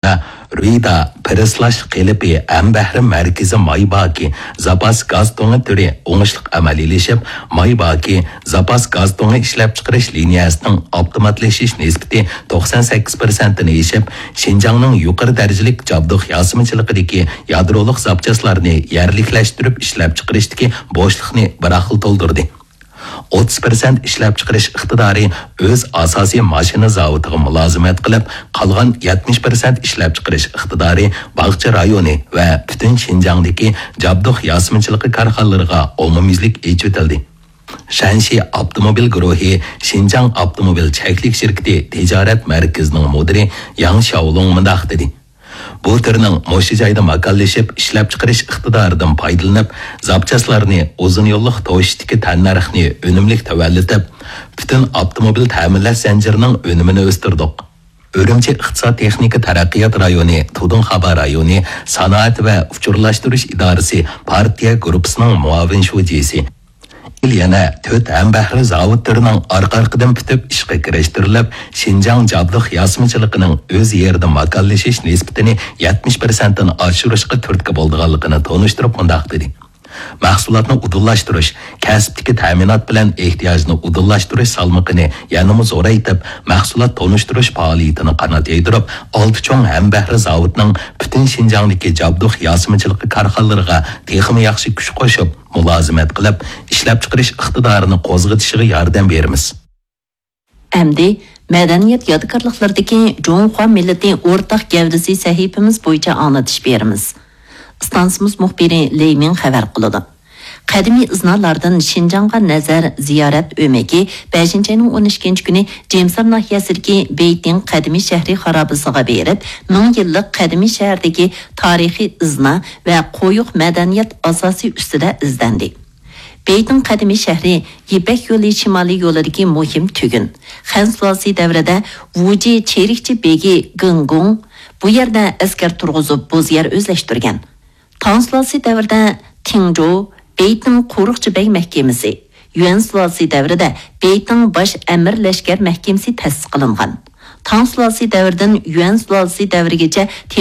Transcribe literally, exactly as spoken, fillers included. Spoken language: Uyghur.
رۇيدا پىرىسلاش قېلىپى ھەمبەھرە مەركىزى مايباكى زاپاس گاز تۇڭى تۈرى ئوڭۇشلۇق ئەمەلىيلىشىپ، مايباكى زاپاس گاز تۇڭى ئىشلەپچىقىرىش لىنىيەسىنىڭ ئاپتوماتلىشىش نىسبىتى توقسان سەككىز پىرسەنتتىن ئېشىپ، شىنجاڭنىڭ يۇقىرى دەرىجىلىك جابدۇق ياسىمىچىلىقىدىكى يادرولۇق زاپچاسلارنى يەرلىكلەشتۈرۈپ ئىشلەپچىقىرىشتىكى بوشلۇقنى بىر خىل تولدۇردى. ئوتتۇز پىرسەنت ئىشلەپچىقىرىش ئىقتىدارى ئۆز ئاساسىي ماشىنا زاۋۇتىغا مۇلازىمەت قىلىپ، قالغان يەتمىش پىرسەنت ئىشلەپچىقىرىش ئىقتىدارى باغچە رايونى ۋە پۈتۈن شىنجاڭدىكى جابدۇق ياسىمىچىلىقى كارخانىلىرىغا ئومۇميۈزلۈك ئېچىۋېتىلدى. شەنشى ئاپتوموبىل گۇرۇھى شىنجاڭ ئاپتوموبىل چەكلىك شىركىتى تىجارەت مەركىزىنىڭ مۇدىرى ياڭ شياۋلۇڭ مۇنداق دېدى: بۇ تۈرنىڭ مۇشۇ جايدا ماكانلىشىپ، ئىشلەپچىقىرىش ئىقتىدارىدىن پايدىلىنىپ، زاپچاسلارنى ئۇزۇن يوللۇق توشۇشتىكى تەننەرخنى ئۈنۈملۈك تۆۋەنلىتىپ، پۈتۈن ئاپتوموبىل تەمىنلەش زەنجىرىنىڭ ئۈنۈمىنى ئۆستۈردۇق. ئۈرۈمچى ئىقتىساد تېخنىكا تەرەققىيات رايونى، تۇدۇڭخابا رايونى سانائەت ۋە ئۇچۇرلاشتۇرۇش ئىدارىسى پارتىيە گۇرۇپپىسىنىڭ مۇئاۋىن شۇجىسى، يەنە تۆت ھەمبەھرە زاۋۇت تۈرىنىڭ ئارقا-ئارقىدىن پۈتۈپ ئىشقا كىرىشتۈرۈلۈپ، شىنجاڭ جابدۇق ياسىمىچىلىقىنىڭ ئۆز يېرىدە ماكانلىشىش نىسبىتىنى يەتمىش پىرسەنتتىن ئاشۇرۇشقا تۈرتكە بولىدىغانلىقىنى تونۇشتۇرۇپ مۇنداق دېدى: مەھسۇلاتنى ئۇدۇللاشتۇرۇش، كەسىپتىكى تەمىنات بىلەن ئېھتىياجنى ئۇدۇللاشتۇرۇش سالمىقىنى يەنىمۇ زورايتىپ، مەھسۇلات تونۇشتۇرۇش پائالىيىتىنى قانات يايدۇرۇپ، ئالتە چوڭ ھەمبەھرە زاۋۇتنىڭ پۈتۈن شىنجاڭدىكى جابدۇق ياسىمىچىلىقى كارخانىلىرىغا تېخىمۇ ياخشى كۈچ قوشۇپ، مۇلازىمەت قىلىپ، ئىشلەپچىقىرىش ئىقتىدارىنى قوزغىتىشىغا ياردەم بېرىمىز. ئەمدى مەدەنىيەت يادىكارلىقلىرىدىكى جۇڭخۇا مىللىتى ئورتاق گەۋدىسى سەھىپىمىز بويىچە ئاڭلىتىش بېرىمىز. ئىستانسىمىز مۇخبىرى لېي مىڭ خەۋەر قىلىدۇ. قەدىمىي ئىزنالاردىن شىنجاڭغا نەزەر زىيارەت ئۆمىكى بەشىنچى ئاينىڭ ئون ئىككىنچى كۈنى جېمسار ناھىيەسىدىكى بېيتىڭ قەدىمىي شەھىرى خارابىسىغا بېرىپ، مىڭ يىللىق قەدىمىي شەھەردىكى تارىخىي ئىزنا ۋە قويۇق مەدەنىيەت ئاساسى ئۈستىدە ئىزدەندى. بېيتىڭ قەدىمىي شەھىرى يىپەك يولى شىمالىي يولىدىكى مۇھىم تۈگۈن. خەن سۇلالىسى دەۋرىدە ۋۇجى چېرىكچى بېگى گېڭگۇڭ بۇ يەردە ئەسكەر تۇرغۇزۇپ، بوز يەر ئۆزلەشتۈرگەن. تاڭ سۇلالىسى دەۋرىدە تىڭجو، بېيتىڭ قورۇقچى بەگ مەھكىمىسى، يۈەن سۇلالىسى دەۋرىدە بېيتىڭ باش ئەمىر لەشكەر مەھكىمىسى تەسىس قىلىنغان. تاڭ سۇلالىسى دەۋرىدىن يۈەن سۇلالىسى دەۋرىگىچە